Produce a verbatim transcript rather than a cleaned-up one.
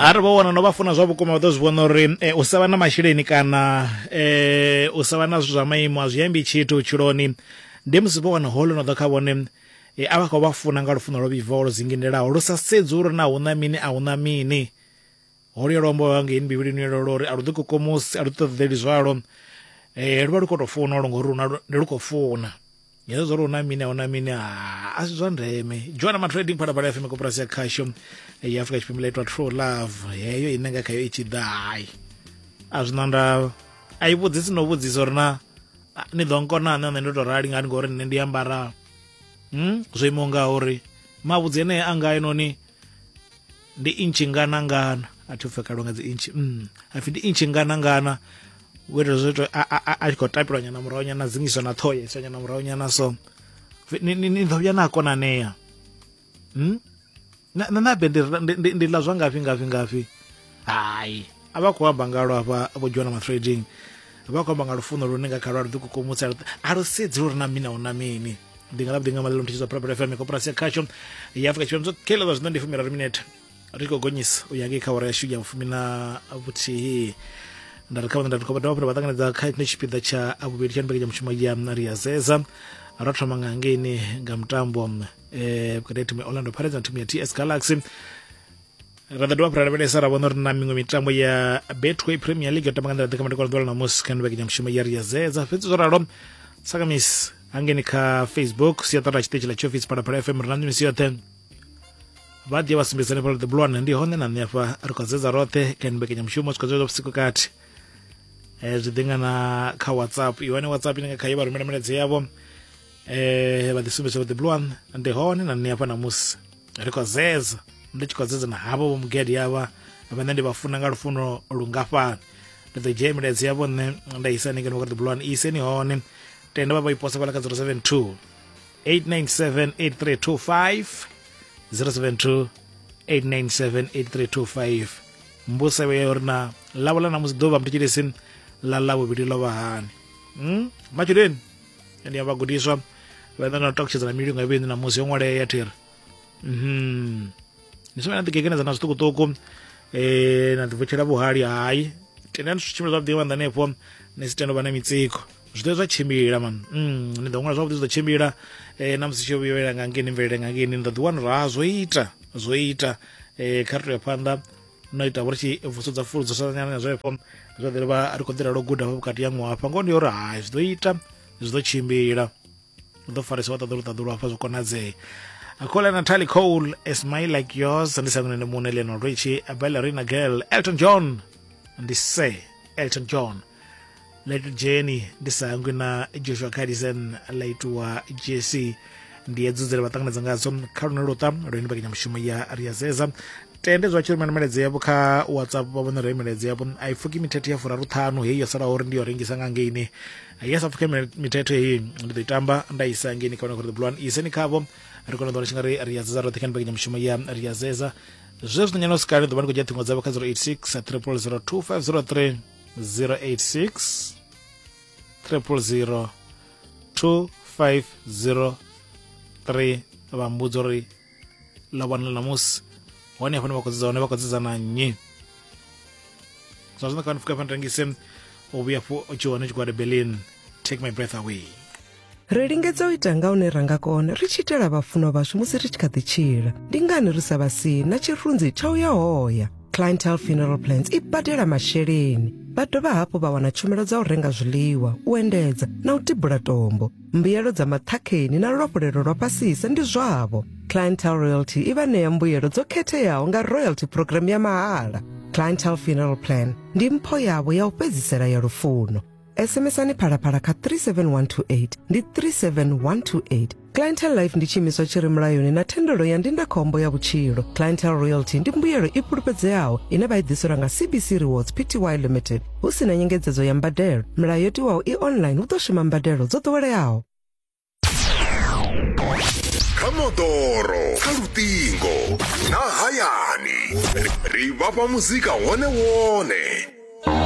Arali vho wana no vha funa zwa vhukuma vha ḓo zwi vhona uri eh, u sa vha na masheleni kana eh, u sa vha na zwithu zwa maimo a zwi ambi tshithu vhutshiloni. Ndi musi vho wana holo no ḓa kha vhone eh, a vha khou vha funa nga lufuno lwo vhibvaho lwo dzingindelaho lu sa sedzi uri na huna mini a huna mini. Holuya luambo lwa ngeini bivhilini lwo uri a lu ḓikukumusi a lu ṱoḓeli zwalo, eh, lu vha lu khou tou funa lwo ngori ndi lu khou funa. Hezwo zwa uri huna mini a huna mini a si zwa ndeme. Joana Matrading Phalaphala F M koporasi ya khasho ya Afrika Tshipembe itwa True Love heyo ine nga khayo i tshi ḓa hai a zwi na ndavha a i vhudzisi no vhudzisa uri na ni ḓo nkona nṋe ndo to rali ngani ngori nṋe ndi ambara hmm zwo imaho nga uri mavhudzi ene anga enoni ndi intshi ngana ngana a thi pfe kalwa nga dzi intshi mm a pfi ndi intshi ngana ngana wethu zwo to a a a khou tapelwa nyana murahu nyana dzingiswa na ṱhoho ya nyana murahu nyana so ni ni ḓo vhuya na konanea hmm na na be ndi ndi la zwa ngafhi ngafhi ngafhi hai a vha khou amba ngalo hafha vho Joana Matrading vha khou amba nga lufuno lune nga kha lwa lu ḓikukumutsa a lu sedzi uri na mini a huna mini. Ndi nga lavhuḓi nga maḽelo muthetshi zwa Phalaphala F M koporasi ya khasho ya Afrika Tshipembe kheḽa zwa zwino ndi fumiraru minete ri khou gonyisa u ya ngei kha awara yashu ya vhufumi na vhuthihi. Nda ri kha vhone nda ri khou dovha vha ṱanganedza kha tshino tshipiḓa tsha vhuvhili tsha mbekanyamushumo ya Ri a Zeza. Ro thoma nga ngeini nga mutambo eh vhukati ha thimu ya Orlando Pirates na thimu ya T S Galaxy. Ra ḓo dovha ra lavhelesa ra vhona uri na miṅwe mitambo ya Betway Premier League yo tamba nga nḓila ḓe kha madekwana ḓuvha ḽa ṋamusi kha mbekanyamushumo ya Ri a Zeza. Fhedzi zwo ralo sakamisi hangeni kha Facebook siaṱari ḽa tshiṱitshi ḽa tshiofisi Phalaphala F M ri na misi yoṱhe vha ḓi vha sumbedza hanefha the blue one ndi hone na nṋe afha ri khou zedza roṱhe kha mbekanyamushumo swika zwa vhusiku kati. Eh zwi ḓi nga na kha WhatsApp i hone WhatsApp ine nga khayo vha rumela milaedza yavho eh vha ḓi sumbedza the blue one ndi hone na nṋe afha ṋamusi ri khou zedza ndi tshi khou zedza na havho vho mugedi avha vhane ndi vha funa nga lufuno lungafhani. Ndi ḓo dzhia milaedza yavho nṋe nda isa hanengei kha the blue one iseni hone tenda vha vha i posa fhala kha zero seven two eight nine seven eight three two five zero seven two eight nine seven eight three two five. Mbuso ya uri na ḽavho ḽa ṋamusi ḓuvha mutshilisi ḽa ḽavhuvhili ḽo vha hani mm matshudeni ndi ya vhagudiswa vha ḓo na talkshedza na milingo ya vheni ṋamusi yo ṅwalea thiri mhm ni songo na ḓigegenedza na zwiṱukuṱuku eh na ḓivutshela vhuhali hai tendani zwi tshimbila zwavhuḓi nga hanefho ni si tende u vha na mitsiko zwi ḓo zwa tshimbila man mm ni ḓo ṅwala zwavhuḓi zwi ḓo tshimbila eh na musi tshi vhuyela nga ngeni mvelele nga ngeni ni ḓo ḓi wana uri ha zwo ita zwo ita eh kha ri to ya phanḓa no ita uri tshi vusudza fuludzo sa nyana zwefho zwa ḓi vha ri khou ḓi ralo guda vhukati ya ṅwaha hafha ngoho ndi uri hai zwi ḓo ita zwi ḓo tshimbila u ḓo farisa wa ṱaḓulu ṱaḓulu hafha zwo konadzea. Akhola Natalie Cole, A Smile Like Yours, ndi sangune ndi muṋe Lionel Richie, a Ballerina Girl, Elton John, ndi Sir Elton John, Little Jenny ndi sangwe na Joshua Kadison la itiwa J C ndi hedzo dzine vha ṱanganedza ngadzo kha lune luṱa lune mbekanyamushumo ya Ri a Zeza. Tende zwa tshi rumela milaedza yavho kha WhatsApp vha vhone uri milaedza yavho a i pfuki mithethe ya furaru ṱhanu heyi yo salaho uri ndi yo rengisa nga ngeini ya sa pfuke mithethe heyi ndi ḓo i tamba nda isa ngeini kha vhone the blue one iseni khavho ri kone u ḓo tshi nga ri Ri a Zeza roṱhe kha mbekanyamushumo ya Ri a Zeza. Zwezwi nyana sikale ḓo vha ndi khou dzhia ṱhingo dzavho kha zero eight six triple zero two five zero three zero eight six triple zero two five zero three vha mbudza uri ḽa vhona ṋamusi hone hafho vha khou dzedza hone vha khou dzedza na nnyi. Zwa zwino kha ni pfuka rengise u vhuya fho tshi hone tshigwada Berlin Take My Breath Away. Ri lingedza u ita nga hune ra nga kona ri tshi itela vhafunwa vhashu musi ri tshi kha ḓi tshila. Ndi ngani ri sa vha sii na tshirunzi tsha u ya hoya? Clientele Funeral Plans i badela masheleni. Vha dovha hafhu vha wana tshumelo dza u renga zwiḽiwa, u endedza na u tibula tombo. Mbuyelo dza maṱhakheni na luafhulelo lwa fhasisa ndi zwavho. Clientele Royalty i vha ṋea mbuyelo dzo khetheaho nga royalty program ya mahala. Clientele Funeral Plan ndi mpho yavho ya u fhedzisela ya lufuno. S M S-ani Phalaphala kha three seven one two eight ndi three seven one two eight. Clientele Life ndi tshiimiswa tshi re mulayoni na thendelo ya ndindakhombo ya vhutshilo. Clientele Royalty ndi mbuyelo i fhulufhedzeaho ine vha i ḓiselwa nga C B C Rewards P T Y Limited hu si na nyengedzedzo ya mbadelo. Milayo yo tiwaho i online hu ḓo shuma mbadelo dzo ḓoweleaho. Kha moḓoro, kha luṱingo na hayani ri vhafha muzika wone wone.